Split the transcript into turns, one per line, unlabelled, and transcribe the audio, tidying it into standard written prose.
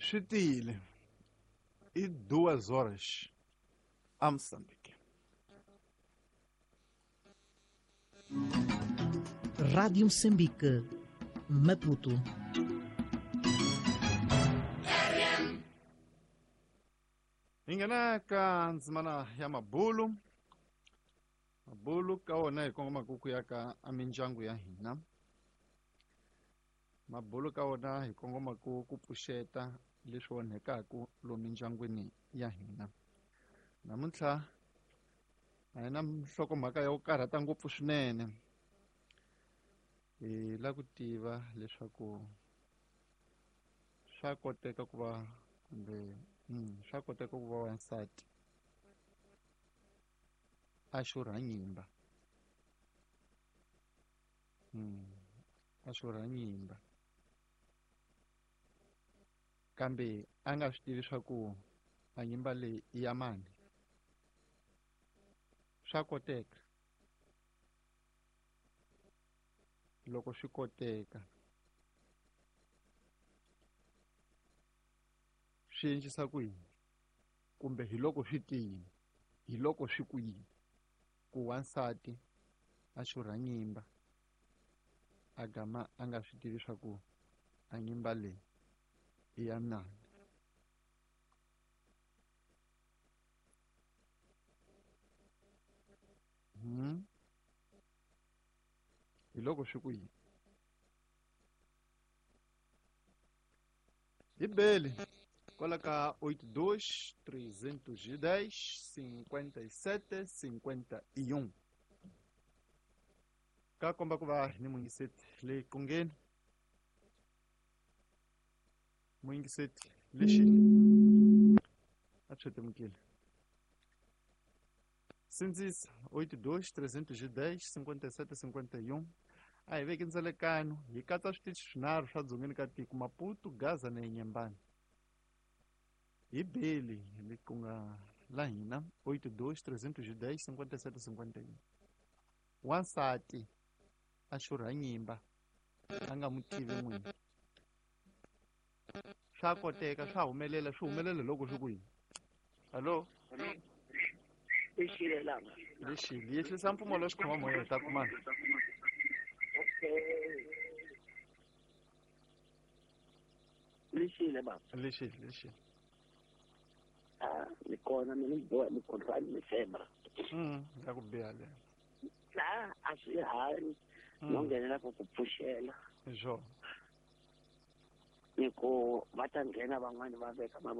Swi tiyile i duas horas a Moçambique.
Rádio Moçambique, Maputo.
Hi nghena ka ndzimana ya mabulu. Mabulu ka wona hi kongomaka ku ya ka mindyangu ya hina. Mabulu ka wona hi kongomaka ku pfuxeta leswi onhekaka lomu mindyangwini ya hina. Namuntlha a hi na nhlokomhaka ya ku karhata ngopfu swinene. Hi lava ku tiva leswaku swa koteka ku va kumbe swa koteka ku va wansati a xurha nyimba. A xurha nyimba. Kambe a nga swi tivi swa ku a nyimba leyi i ya mani. Swa koteka. Loko swi koteka swi endlisa ku yini kumbe hi loko swi te yini hi loko swi ku yini ku wansati a xurha nyimba a gama a nga swi tivi swa ku a nyimba leyi i ya mani. Hi loko swi ku yini. Hi beli kwala ka 82 310 57 51 ka komba ku va ni muyingiseti leyi qungeni muyingiseti lexi a tshetemukile sindzisa 82 310 57 51 a hi veki ndzelekano hi katsa switichi swinharhu swa dzongeni ka tiko Maputo, Gaza na Inhambane. Hi beli le ku nga la hina 82 310 57 51. Wansati a xurha nyimba a nga n'wi tivi n'wini. Swa koteka, swa humelela, swi humelela loko swi ku yini. Hallo?
Lexile lama.
Lexile, yehlisa mpfumawulo wa xikhoma-moya hi ta kumana.
Okay. Lexile baba.
Lexile, lexile.
Ah, ni kona mina ni boha ni kontrani ni femra.
Ya ku biha leyo.
La a swi hanyi. No nghenela ku ku pfuxela.
Hi swona.
Ni ku va ta nghena van'wani va veka mavoko.